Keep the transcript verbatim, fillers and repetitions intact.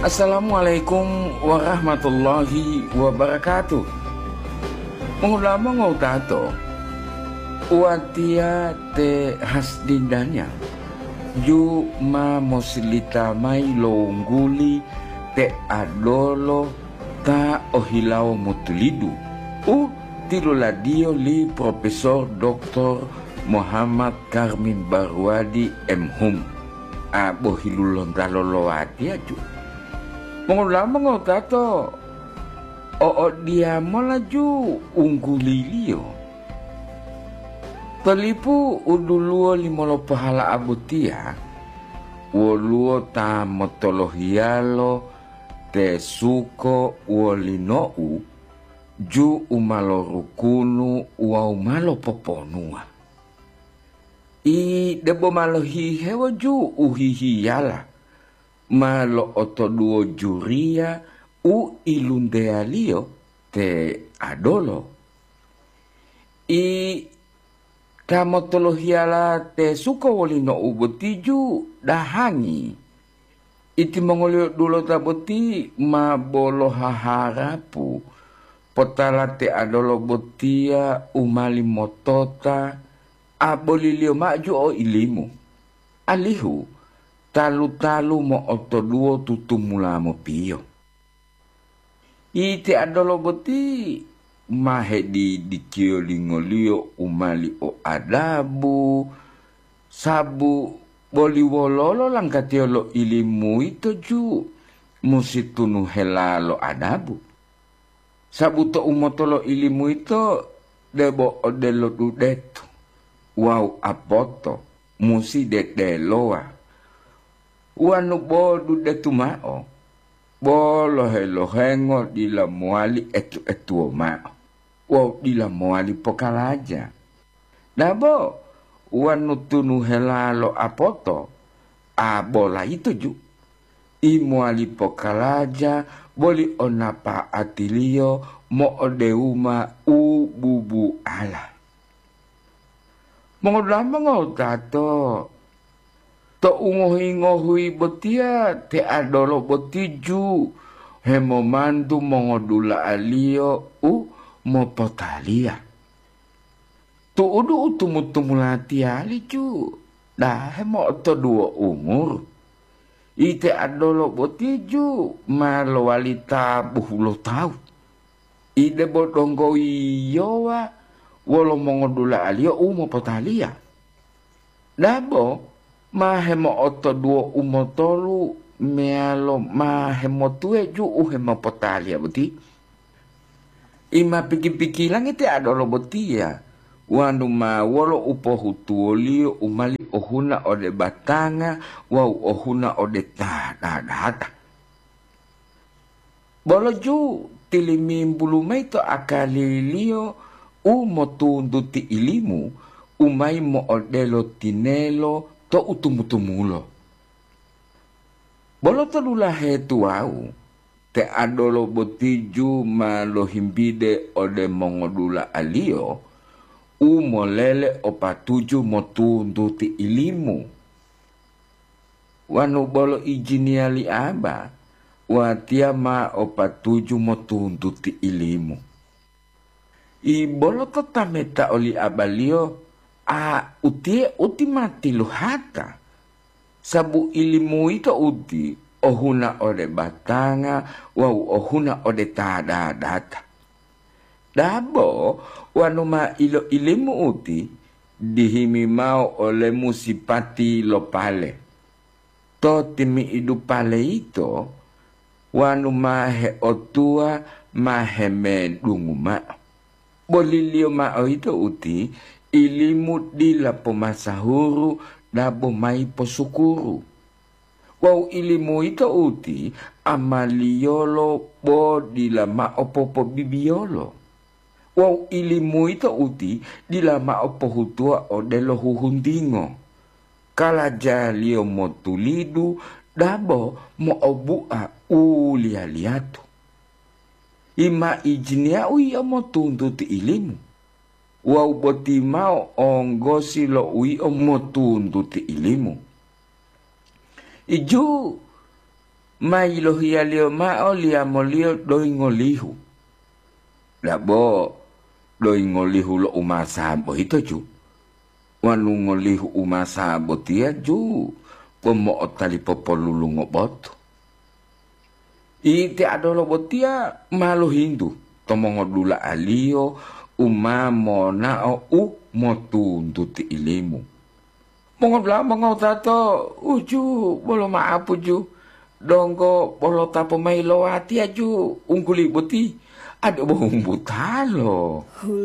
Assalamualaikum warahmatullahi wabarakatuh. Mongulama ngotato, watiya te Hasdindanya ju ma mosilita mayi lo wungguli te adolo ta ohilawo motulidu u tiluladiyo li Profesor Doktor Muhammad Karmin Barwadi, M Hum, a bohilulontalo lo watiya ju. Mongulama ngotato, o'odiyamola ju ungguliliyo. To lipu u duluwo limolopowala'a botiya, woluwo ta motolohiyalo te suko wolino'u ju u ma lorukunu wawu ma lopoponuwa. I debo ma lohihewo ju u hihiyala, ma lo'otoduwo juriya u ilunteyaliyo te adolo. I ta motolohiyala te suko wolino'u boti ju dahangi. Itimongoliyo dulota boti ma bolo haharapu, potala te adolo botiya u mali motota, aboliliyo mao ju o ilimu, alihu talu-talu mo'otoduwo tutumula mopiyo. Ite adolo boti ma hedidikiyo lingoliyo u mali o adabu, sabu boli wololo langkatiyo lo ilimu yito ju musi tunu hela lo adabu. Sabu tou moto lo ilimu yito debo odelo dudetu wawu apoto musi dedelowa. Wanu bo dudetu mao, bo lohe-lohengo dila mowali etu-etuwo mao wawu dila mowali pokalaja. Dabo wanu tunu hela lo apoto, a bola yito ju, i mowali pokalaja boli o napa'atiliyo mo'odewuma u bubuala. Mongodula'a mongotato, to ungohi-ngohuyi botiya te adolo boti ju hemomantu mongodula'aliyo u mopotaliya. Tu'udu u tumu-tumula tiyali ju dahe mo'otoduwo umuru. Ite adolo boti ju ma lowali ta bohulotawu. Ide bo donggo yiyowa wolo mongodula'aliyo u mopotaliya. Dabo ma hemo'otoduwo u motolu meyalo ma hemotuwe ju u hemopotaliya boti? I ma piki-pikilangi te adolo botiya, wanu ma wolo u pohutuwoliyo u mali ohuna ode batanga wawu ohuna ode ta dadata. Bolo ju tilimimbulu mayi to akaliliyo u motuntuti ilimu u mayi mo'odelo tinelo to u tumu-tumulo. Bolo to dulahe tuwawu, te adolo boti ju ma lohimbide ode mongodula'aliyo u molele o patuju motuntuti ilimu. Wanu bolo ijiniya li Aba, watiya ma o patuju motuntuti ilimu. I bolo to tameta oli abaliyo, a utiye uti ma tiluhata, sabu ilimu yito uti ohuna ode batanga wawu ohuna ode ta dadata. Dabo wanu ma ilo-ilimu uti, dihimi mao olemu sipati lo pale. To timi'idu pale yito, wanu ma heotuwa ma hemedungu mao. Boliliyo mao yito uti, ilimu dila pomasahuru dabo mayi posukuru. Wawu ilimu yito uti amaliyolo bo dila mao popobibiyolo. Wawu ilimu yito uti dila mao pohutuwa odelo huhuntingo. Kalajaliyo motulidu dabo mo'obu'a u liya-liyatu. Ima ijiniyau yio motuntuti ilimu, wawu boti mao onggosi lo u yio motuntuti ilimu. Iju ma yilohiyaliyo mao liyamoliyo doyi ngolihu. Dabo doyi ngolihu lo umasa boyito ju, wanu ngolihu umasa botiya ju bo mo'otali popolulungo botu. Iti adolo botiya ma lohintu to mongodula'aliyo u ma monao u motuntuti ilimu. Mongodula'a mongowutato, uju bolo ma'apu ju, donggo bolo ta pomayi lo watiya ju ungguli boti, ade bo humbutalo.